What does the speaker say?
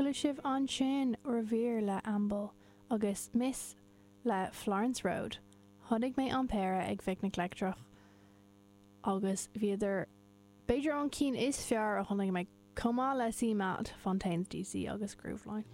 Chuala sibh ansin Revere le Amble agus Miss le Florence Road. Chonaic mé an péire ag Phicnic Leictreach agus bhíodar b'fhéidir an cinn is fearr a chonaic mé, chomh maith le CMAT, Fontaines DC agus Grooveline.